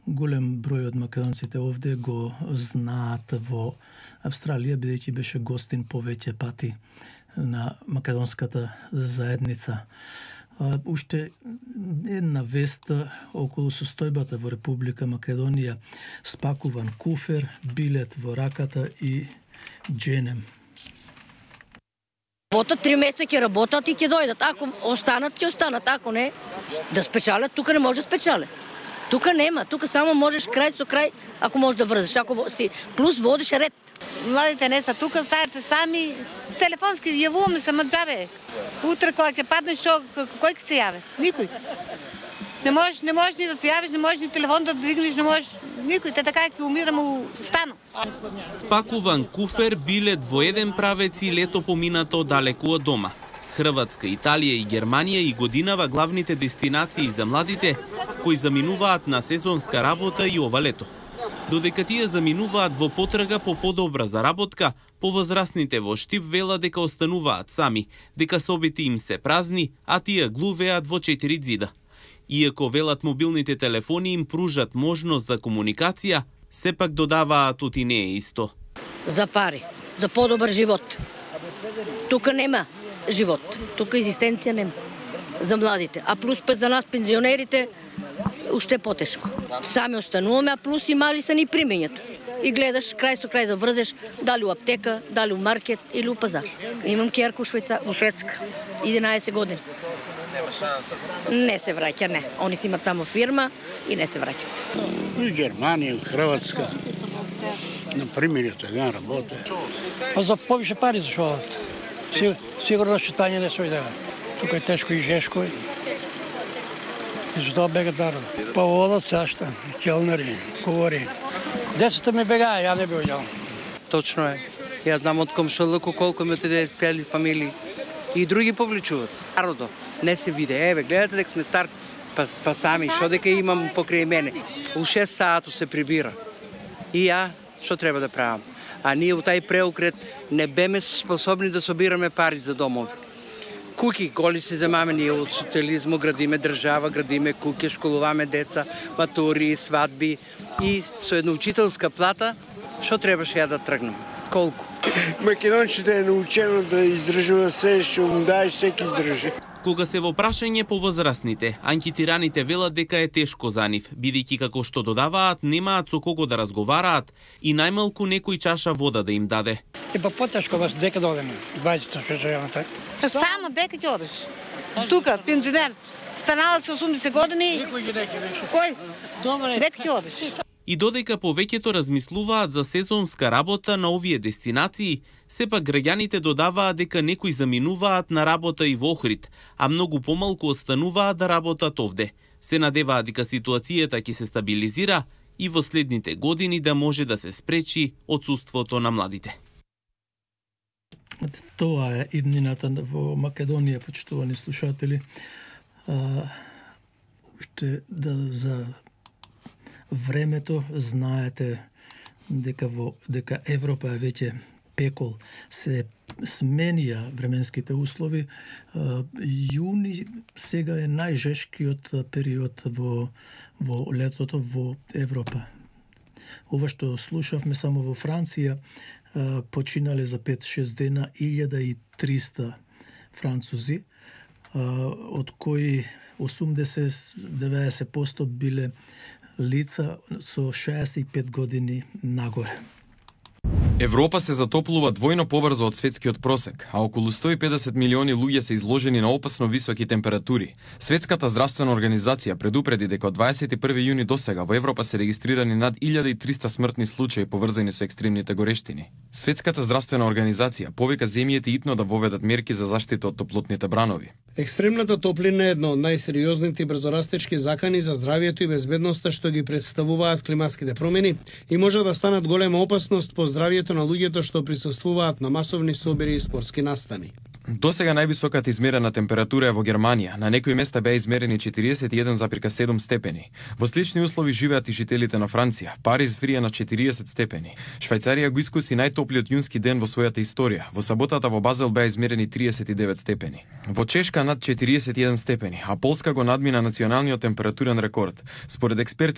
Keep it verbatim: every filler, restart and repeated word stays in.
Голем број од македонците овде го знаат во Австралија, бидејќи беше гостин повеќе пати на македонската заедница. Уште една вест околу состојбата во Република Македонија: спакуван куфер, билет во раката и дженем. Работат три месеца, ќе работат и ќе дојдат. Ако останат, ќе останат. Ако не, да спечалят, тука не може да спечалят. Тука нема, тука само можеш крај со крај, ако можеш да врзеш, ако си плюс водиш ред. Младите не са тука, старите сами, телефонски јавуваме се маџабе. Утре кога ќе паднеш, шо, кој ќе се јаве? Никој. Не можеш, не можеш ни да се јавиш, не можеш ни телефон да двигнеш, не можеш никој, те така ќе умираме у стану. Спакуван куфер, билет во еден правец и лето поминато далеку од дома. Хрватска, Италија и Германија и годинава главните дестинации за младите кои заминуваат на сезонска работа и ова лето. Додека тие заминуваат во потрага по подобра заработка, повозрасните во Штип велат дека остануваат сами, дека собите им се празни, а тие глувеат во четири ѕида. Иако велат мобилните телефони им пружат можност за комуникација, сепак додаваат оти не е исто. За пари, за подобар живот. Тука нема живот, тука екзистенција нема за младите, а плюс па за нас пензионерите уште потешко. Сами остануваме, а плюс и мали се ни примењат. И гледаш крај со крај да врзеш дали у аптека, дали у маркет или у пазар. Имам ќерка у Швеца, у Шведска, единаесет години. Не се враќа, не. Они си имат тамо фирма и не се враќат. И Германија, и Хрватска. На примериот еден работе. А за повише пари зашо одат. Сигурно читање не се одела. Тука е тешко и жешко. И за тоа бегат народ. Па одат сашта, келнери, говори. Децата ми бегаа, ја не би одјал. Точно е. Ја знам од комшилуку колку ми отиде цели фамилии. И други повлечуваат. Народо не се виде. Еве, гледате дека сме старци. Па, па сами, шо дека имам покрај мене. У шест саато се прибира. И ја, што треба да правам? А ние у тај преокрет не беме способни да собираме пари за домови. Куки голи се земаме ние од социализму, градиме држава, градиме куки, школуваме деца, матури, свадби и со една учителска плата, што требаше ја да тргнем? Колку? Македонците е научено да издржува се, што му даеш, секи издржи. Кога се во прашање по возрастните, анкетираните велат дека е тешко за нив, бидејќи како што додаваат, немаат со кого да разговараат и најмалку некој чаша вода да им даде. И па потешко вас дека да одеме, дваесет шест. Само дека ќе одеш. Тука, пензионер, станала се осумдесет години. Кој? Добре. Дека ќе одеш. И додека повеќето размислуваат за сезонска работа на овие дестинации, сепак граѓаните додаваат дека некои заминуваат на работа и во Охрид, а многу помалку остануваат да работат овде. Се надеваат дека ситуацијата ќе се стабилизира и во следните години да може да се спречи отсуството на младите. Тоа е иднината во Македонија, почитувани слушатели. Уште да за времето знаете дека во дека Европа е веќе пекол, се сменија временските услови. Јуни сега е најжешкиот период во во летото во Европа. Ова што слушавме само во Франција, починале за пет-шест дена илјада и триста французи, од кои осумдесет до деветдесет проценти биле лица со шеесет и пет години нагоре. Европа се затоплува двојно побрзо од светскиот просек, а околу сто и педесет милиони луѓе се изложени на опасно високи температури. Светската здравствена организација предупреди дека од дваесет и први јуни досега во Европа се регистрирани над илјада и триста смртни случаи поврзани со екстремните горештини. Светската здравствена организација повика земјите итно да воведат мерки за заштита од топлотните бранови. Екстремната топлина е една од најсериозните и брзорастечки закани за здравието и безбедноста што ги представуваат климатските промени и може да станат голема опасност по здравието на луѓето што присуствуваат на масовни собири и спортски настани. Досега највисоката измерена температура е во Германија. На некои места беа измерени четириесет и еден зарез седум степени. Во слични услови живеат и жителите на Франција. Париз врие на четириесет степени. Швајцарија го искуси најтоплиот јунски ден во својата историја. Во саботата во Базел беа измерени триесет и девет степени. Во Чешка над четириесет и еден степени, а Полска го надмина националниот температурен рекорд. Според експертите,